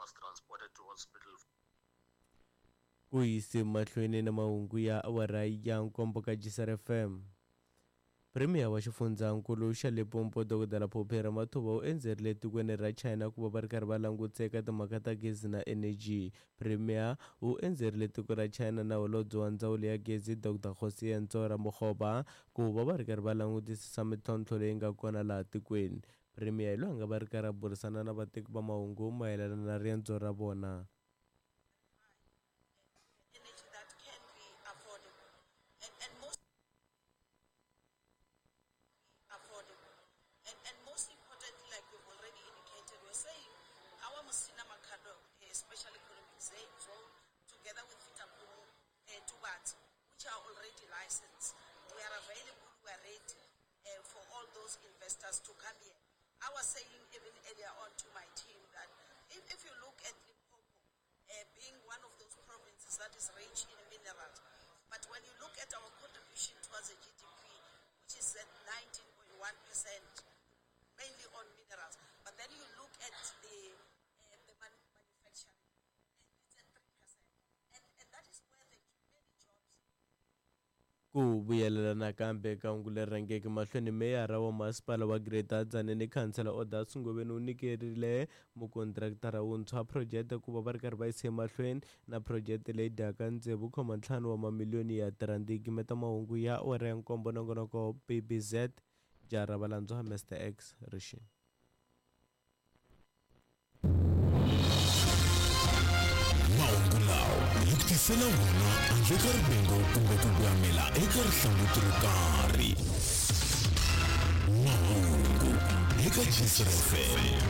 was transported to hospital. Ku yise mahlweni na mahungu ya awara ya nkombo ka Gisar FM. Premier wa xifundzankulu xa Limpopo Dr Phophi Ramathuba u endzerile etikweni ra China ku va va ri karhi va langutisa eka timhaka ta gezi na eneji. Premier u endzerile tiko ra China na holobye wa ndzawulo ya gezi Dr Kgosientsho Ramokgopa ku va va ri karhi va langutisisa mintlhontlho leyi nga kona laha tikweni. Premier hi loyi a nga va ri karhi a burisana na vateki va mahungu mayelana na riendzo ra vona. Energy that can be affordable and most affordable. And most importantly, like we've already indicated, we're saying our Musina Makhado Special Economic Zone, together with Fetakgomo Tubatse, which are already licensed, we are available, we are ready for all those investors to come here. I was saying even earlier on to my team that if you look at Limpopo, being one of those provinces that is rich in minerals, but when you look at our contribution towards the GDP, which is at 19.1%, mainly on minerals, but then you look at the manufacturing, it's at 3%. And that is where the many jobs. Ku vuyelela nakambe ka hungu leri rhangeke mahlweni, meyara wa masipala wa Greater Tzaneen khansela Odas Ngobeni u nyikerile mukontraktara wuntshwa phurojeke ku va va ri karhi va yisa emahlweni na phurojeke leyi dyaka 6.5 wa mamiliyoni ya tirhandi. Gimeta mahungu ya awara ya nkombo, nongonoko BBZ jara valandzwa Mr X Rixini. Mahungu lawa hi ku tisela wona handle ka rivengo kumbe ku gwamela eka rihlanguti ro karhi. Mahungu eka Gisar FM.